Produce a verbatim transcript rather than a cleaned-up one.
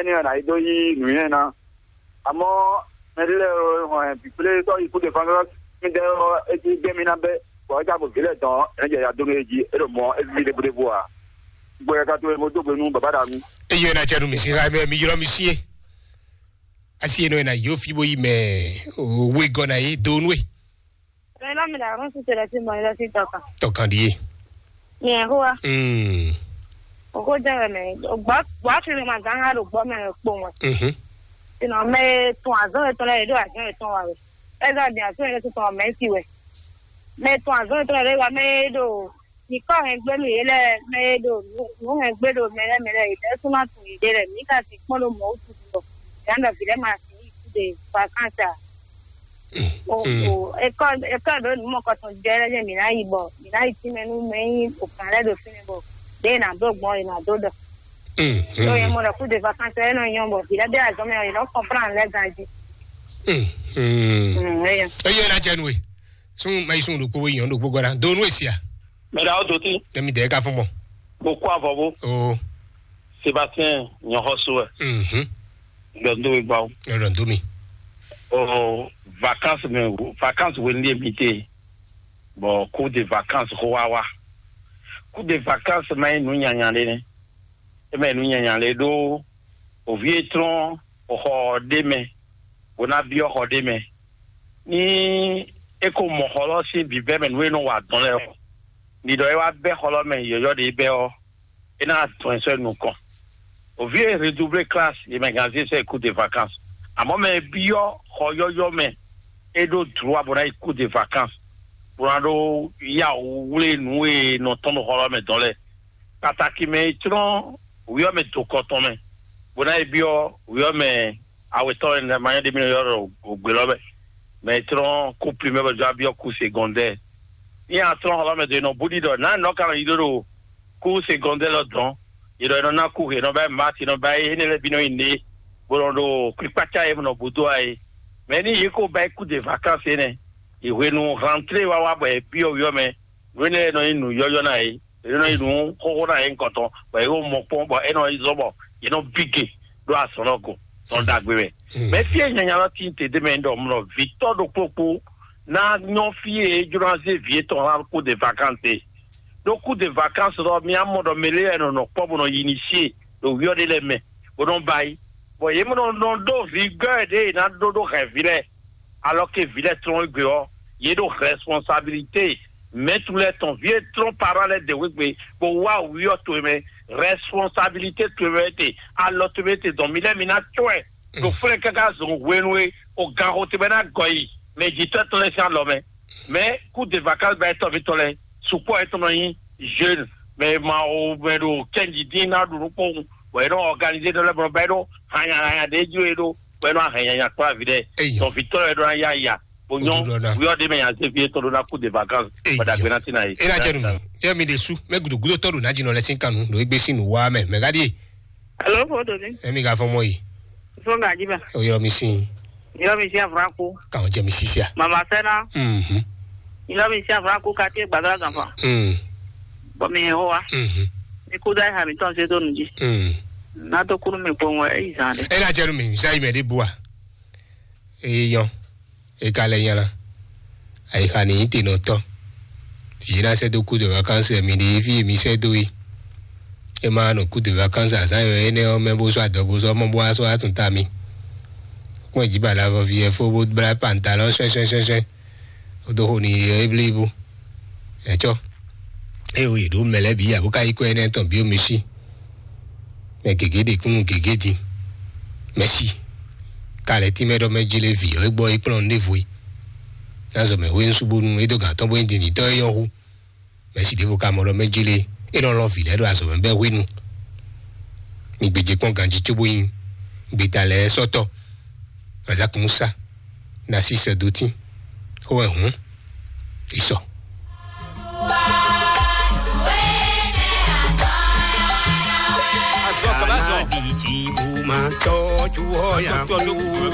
Énɛ́ ɔ́, nǎ yi dó yí nǔnywɛ́ ná. Amɔ̌, mɛɖé lɛ́ɛ hɔn ɛ bǐblé sɔ́ yi kú ɖe fangɔ́ mì ɖɛ ɔ́, é cí gbɛ́ mì ná bɛ́, bɔ é já bo vǐ lɛ́ɛ dɔn, é nɔ́ jɛ ya dó nú é jí, é ɖo mɔ̌, é víví ɖěbúɖébú ǎ. Gbɔ yɛ ka towe mo dó gbe nú bǎbá ɖa mì. Eye na cɛ nu mi si ha mɛ mi ylɔ mi sie. Asi enɔ na yo fi bo yi mɛ. Owe gɔ na ye do nue. Mɛ lɔ mi la rún si tele si mɔ ilé si tɔkan. Tɔkan di ye. Nyɛ hoa. Mm. Oko jɛ wɛ mɛ. Gbɔ gbɔ fi mi ma ganga ɖo gbɔ mɛ kpo mɔ. Mhm. Sinɔ mɛ tun azɔn etɔn lɛ ɖo azɔn etɔn wa wɛ. Ɛzɔ di azɔn etɔn mɛ si wɛ. Mɛ tun azɔn etɔn lɛ wa mɛ ɖo nyǐkɔ hɛngbénu yě lɛ́ɛ mɛ e ɖo nǔ hɛngbé ɖo mɛ lɛ́ɛ mɛ lɛ́ɛ yě lɛ́ɛ sú ná tunwun yěɖée lɛ́ɛ. Mǐ ka sixú kpɔ́n ɖo mɔ̌ wútu din bɔ yě ná ɖɔ vǐ lɛ́ɛ ma sixú yi kúɖe vakánsi a? O o ekɔ ekɔ ɖo nǔ mɔkɔtɔn jɛ lɛ́ɛ jɛ mǐ ná yi bɔ mǐ ná yi tínmɛ nú mɛ nyí òkan lɛ́ɛ ɖo fínɛ́ bɔ ɖěe nǎ dó gbɔn è nǎ dó ɖɔ. Ɖó yě mɔ ɖɔ kúɖe vakánsi ɛ nɔ nyɔ́ bɔ vǐ lɛ́ɛ ɖé azɔn mɛ ɔ́ yě nɔ kɔnplán lɛ́ɛ ganjí. Eye na jɛ nue. Sun mayi sun ɖokpó we yɔn ɖokpó gɔ́ ná do nú èsì a? Mɛ ɖa ó dó tí. Tɛmi dɛ ka fún mɔ. Mo kó avɔ bó. O. Sébastien nyɔxɔsó ɛ. Mhm. Gbɛndó mi gbà ó. Lọ́dọ̀ tó mi. O vacances mɛ vacances wɛ ní mi te. Bɔ coup de vacances xó wá wá. Coup de vacances ma nyí nǔ nyanya ɖé nɛ. É ma nyí nǔ nyanya ɖé ɖó òví e tlɔ́n xɔ ɖé mɛ, bó ná byɔ́ xɔ ɖé mɛ. Ní é ko mɔ xɔ lɔ sín bǐbɛ́ mɛ nǔ e nɔ wa dɔn lɛ́ɛ ɔ́, mi ɖɔ é wá bɛ́ xɔ lɔ mɛ yɔ̌yɔ́ ɖě bɛ́ ɔ́, é ná dɔn ɛ sɔ́ nukɔn. Òví e redoublé classe, yě mɛ gǎn zé sɔ́ coup de vacances. Àmọ́ mɛ e byɔ́ xɔ yɔ́yɔ́ mɛ, é ɖó droit bó ná yi coup de vacances, bó ná ɖó yá wú wlé nǔ e nɔ tɔn ɖo xɔ lɔ mɛ dɔn lɛ́ɛ. Pàtàkì mɛ e tlɔ́n wǐyɔ́ mɛ do kɔ tɔn mɛ, bó ná yi byɔ́ wǐyɔ́ mɛ awetɔ́ e ma nyɔ́ ɖé mi nɔ ylɔ́ ɖɔ ògbě lɔ mɛ, mɛ e tlɔ́n kú primɛ́ bɔ jɔ byɔ́ kú segɔndɛ́. Ní a tlɔ́n xɔ lɔ mɛ do e nɔ bú ɖiɖɔ nǎ nɔ ka nɔ yi ɖó ɖo kú segɔndɛ́ lɔ dɔn, yě ɖɔ è nɔ ná kú, è nɔ ba yi mati, è nɔ ba yi énɛ́ lɛ́ɛ bǐ nɔ nyi nɖě, bó nɔ ɖo kpikpácá e nɔ bú dó a é. Mɛ ní yě ko ba yi kú de vacances énɛ́, yi hwenu rentrée wá wá bɔ è byɔ́ wǐyɔ́ mɛ, nǔ énɛ́ lɛ́ɛ nɔ nyí nǔ yɔ́yɔ́ ná yě. Yě nɔ yi nǔ xóxó ná yě nukɔntɔn, bɔ yě ko mɔ kpɔ́n, bɔ é nɔ yi zɔ́n, bɔ yě nɔ bí gě ɖó azɔ̌ lɔ go, zɔn ɖagbe mɛ. Mɛ fí e nyanya lɔ tín te ɖ'é mɛ ɖɔ mlɔ vǐtɔ́ ɖokpó kpó ná nyɔ́ fí e é jló ná zé vǐ étɔn ná kú de vacances. Ɖó kú de vacances lɔ, mi á mɔ ɖɔ mɛ lé wɛ nɔ nɔ kpɔ́ bó nɔ yi ní sí e ɖo wíyɔ́ ɖé lɛ́ɛ mɛ, bó nɔ ba yi, bɔ yě mɔ nɔ nɔ ɖó vǐ gbɛ́ ɖě è nǎ ɖó ɖó hɛ̌nví lɛ́ɛ. Alors que vǐ lɛ́ɛ tlɔ́n égbé ɔ́, yě ɖo responsabilité mɛ̌tu lɛ́ɛ tɔn, vǐ e tlɔ́n parán lɛ́ɛ dě wegbe, bó wá wǐyɔ́ towe mɛ, responsabilité towe mɛ te, alɔ towe mɛ te dɔn mi lɛ́ɛ mi ná cɔ́ ɛ ɖo flɛ́n káká zɔn hwenu e o ganxo te bɛ ná gɔ yi mɛ jǐtɔ́ tɔn lɛ́ɛ sín alɔ mɛ. Mɛ kú de vacances ba etɔ́ mǐtɔn lɛ́ɛ, sukpɔ́ etɔn nɔ nyí jeune, mɛ ma o mɛ ɖo kɛnji dín ná ɖu nukpɔ́n, bɔ è nɔ organiser ɖɔ lɛ́ɛ bɔ ba e ɖo hanya hanya ɖé jí e ɖo bɔ é nɔ ahɛn nyanya kplá vǐ ɖɛ. Eyi. Tɔn vǐtɔ́ lɛ́ɛ ɖó ná yá ya bó nyɔ́. Ojú lɔ ná. Wíwá ɖé mɛ nya zé fí étɔn ɖó ná kú de vacances. Eyi. Bɔ dagbe ná tí ná yé. Ena jɛ nu. Jɛ mi ɖe su mɛ gudu gudo tɔɖu ná jinɔ lɛ sin kanu ɖo egbe sin nu wa mɛ mɛ gadi. Alo, fo do ni. Emi ga fɔ mɔ yi. Fo ga jiba. O yɔ mi sin. Yɔ mi si avra ko. Kan jɛ mi sisia. Mama sɛna. Mhm. Yɔ mi si avra ko kati gbadra ganfa. Mm. Bɔ mi ho wa. Mhm. Mi kuda ha mi tɔn se do nu ji. Mm. Na to kuru mi kpɔn wɛ eyi zan de. Ena jɛ nu mi sa yi mɛ de bua. Eyɔn, e ka lɛ nya la. Ayixa ni nyí tenɔtɔ́. Yě ná sɛ́ dó kú de vacances mi ɖi fí mi sɛ́ dó yi. E ma nɔ kú de vacances azán yɔ énɛ́ ɔ́ mɛ bó sɔ́ adɔ bó sɔ́ mɔ bó wá sɔ́ atún ta mi. Kpɔ́n jí bala vɔ vi ɛ fó bó blá pantalon sɔ́ɛ sɔ́ɛ sɔ́ɛ sɔ́ɛ. Ó dó xo ni yɔ éblíbú. Ɛ̌ cɔ́. Ée o yě ɖó mɛ lɛ́ɛ bǐ ǎ bó ka yí kɔ énɛ́ tɔn bǐ o mi sí. Mɛ gěgé ɖe kúnnu gěgé din. Mɛ̌si. Ka lɛ́ tínmɛ ɖɔ mɛ jlé vǐ ɔ́ é gbɔ é kplɔ́n nú ɖěvo é. Ná zɔ mɛ hwenu sú bónú é dó gǎn tɔn bó nyí dindintɔ́ é nyɔ́ hú. Mɛ̌si ɖěvo ka mɔ ɖɔ mɛ jlé é nɔ lɔn vǐ lɛ́ɛ ɖo azɔ̌ mɛ bɛ́ hwenu. Mi gbějé kpɔ́n ganjí cóbó nyí gbeta lɛ́ɛ sɔ́tɔ́. Razak Musa, Narcisse Dotin, xó wɛ hǔn, yi sɔ. Azɔ kaba zɔ. Ghana di dzi bu ma tɔ ju hɔ ya ku.